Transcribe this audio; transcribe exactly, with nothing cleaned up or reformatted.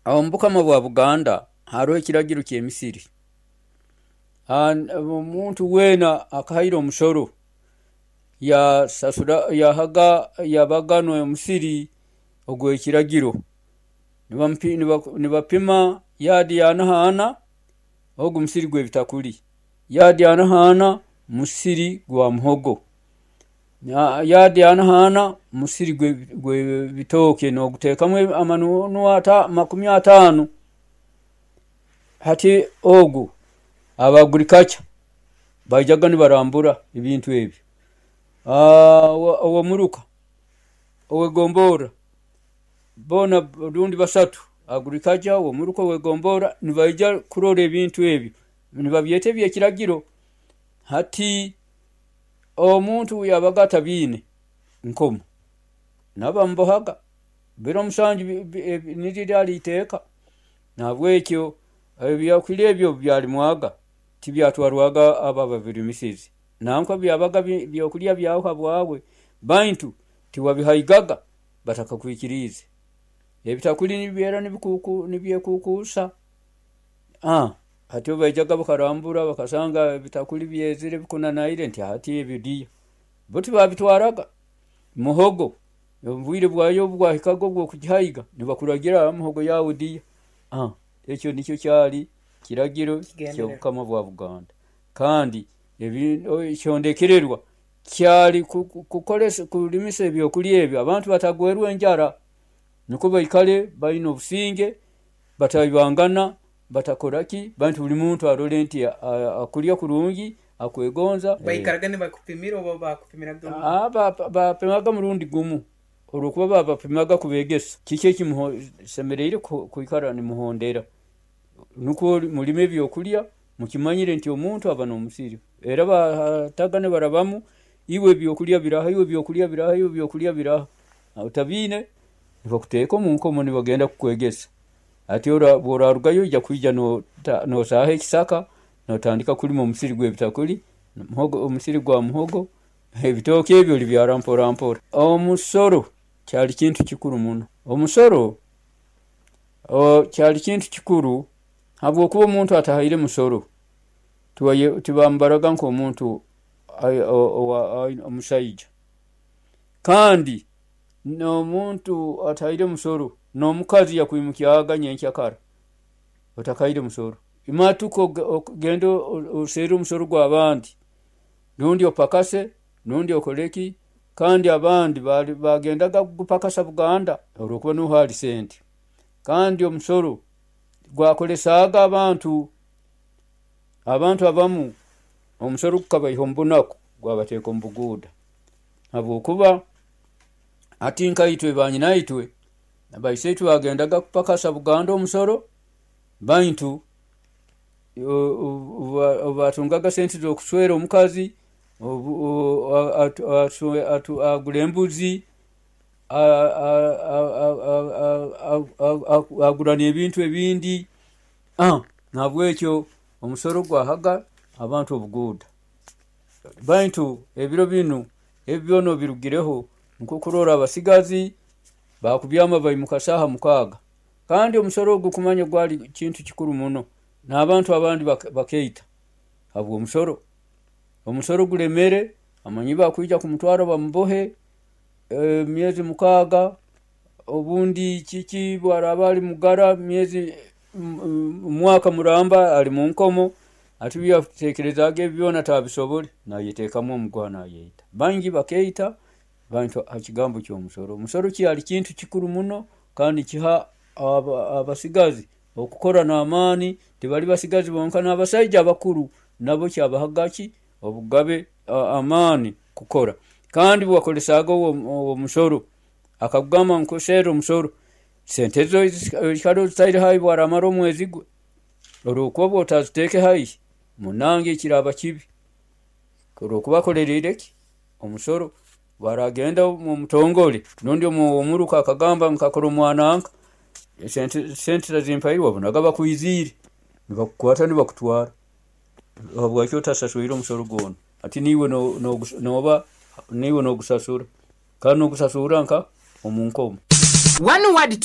Omu bukama bwa Buganda haroho ekiragiro ky'emisiri. Omuntu weena akahaire omusoro yasasura yahaga yabaga n'omusiri ogw'ekiragiro, nibapima yaadi ana h'ana, ogu musiri gw'ebitakuri, yaadi ana h'ana musiri gwa muhogo, yaadi ana h'ana musiri gw'ebitooke noguteekamu amanunu makumi ataano. Hati ogu aba agriculture baijaga nibarambura ebintu ebi, owomuruka, owegomborra, boona rundi basatu agriculture, owomuruka, owegomborra nibaija kurora ebintu ebi, nibabyeta ebyekiragiro. Hati omuntu obu yabaga atabiine nkomo nabo bamubohaga, biro musanju niryo ryari iteeka, nahabwekyo ebyokurya ebi obu byarimwaga tibyatwarwaga abo ababirimisize, nangwa byabaga byokurya byawe habwawe baitu tiwabihaigaga batakakwikiriize. Ebitakuri nibibeera nibyekukuusa, hati obu baijaga bakarambura bakasanga ebitakuri byezire bikunanaire nti hati ebi diya, bo tibabitwaraga. Muhogo obwiire bwayo obu bwahikaga obwokugihaiga nibakuragira muhogo yaawe diya, ekyo nikyo kyaari kiragiro kyobukama bwa Buganda. Kandi ekihondekererwa kyari kurimisa ebyokurya ebi abantu batagwerwa enjara nikwo baikare baine obusinge, bataibangana, batakoraki, baitu buri muntu arore nti akurya kurungi, akwegonza. Baikaraga nibakupimira oba bakupimiraga? Bapimaga murundi gumu olwokuba babapimaga kubeegesa kiki ekimusemeriire kwikara nimuhondera, nikwo murime ebyokurya mukimanyire nti omuntu aba nomusiri, era bahataga nibarabamu iwe ebyokurya biraha, iwe ebyokurya biraha, iwe ebyokurya biraha, otabiine nibakuteeka omunkomo nibagenda kukwegesa, hati obu orarugayo noija kwija nosaaha ekisaka notandika kulima omusiri gwebitakuri, omusiri gwa muhogo, ebitooke ebi oribyaara mpora mpora. Omusoro kyari kintu kikuru muno, omusoro kyari kintu kikuru habwokuba omuntu atahaire musoro tibamubaraga nkomuntu omusaija, kandi nomuntu atahaire musoro nomukazi yakwimukyaga nyenkya kara otakahaire musoro, matuka ogende oseerre omusoro gwabandi rundi opakase rundi okoreki, kandi abandi bagendaga kugupakasa Buganda olwokuba nuho hari sente, kandi omusoro gwakoresaaga abantu, abantu abamu omusoro gukabaiha omubunaku gwabateeka omubuguuda habwokuba hati nkaitwe banyina itwe, baisiitwe bagendaga kupakasa Buganda omusoro baitu obu batungaga sente zokusweera omukazi, agura embuzi, agura nebintu ebindi, nahabwekyo omusoro gwahaga abantu obuguuda, baitu ebiro binu ebi byoona obubirugireho nikwo kurola abasigazi bakubyaama baimuka saaha mukaaga, kandi omusoro ogu kumanya gwari kintu kikuru muno, nabantu abandi bakeita habwomusoro, omusoro guremere amanyi bakwiija kumutwaara bamubohe emyeezi mukaaga obundi kiki obu araaba ari mugara omwaaka muramba ari munkomo, hati obu yatekerezaaga ebi byoona atabisobore nayeteekamu omuguha nayeita, baingi bakeita hakigambo kyomusoro. Omusoro kyari kintu kikuru muno kandi nikiha abasigazi okukora namaani, tibari basigazi bonka nabasaija abakuru nabo kyabahaga ki, obugabe, amaani kukora, kandi obu wakoresaaga omusoro akakugamba ngu nkuseerre omusoro, sente zo oikara ozitaire haihi bwaramara omwezi gwe, olwokuba obu otaziteeke haihi munange kiraaba kibi, olwokuba akoreriire ki, omusoro, obu aragenda omumutongore rundi owomuruka akagamba nkakora omwananka sente tazimpaire wabonaga bakwiziire nibakukwaata nibakutwaara habwaki otasaswiire omusoro gwoona, hati niiwe noba niiwe nogusasura kandi nogusasuurra nkaha, omunkomo. One word to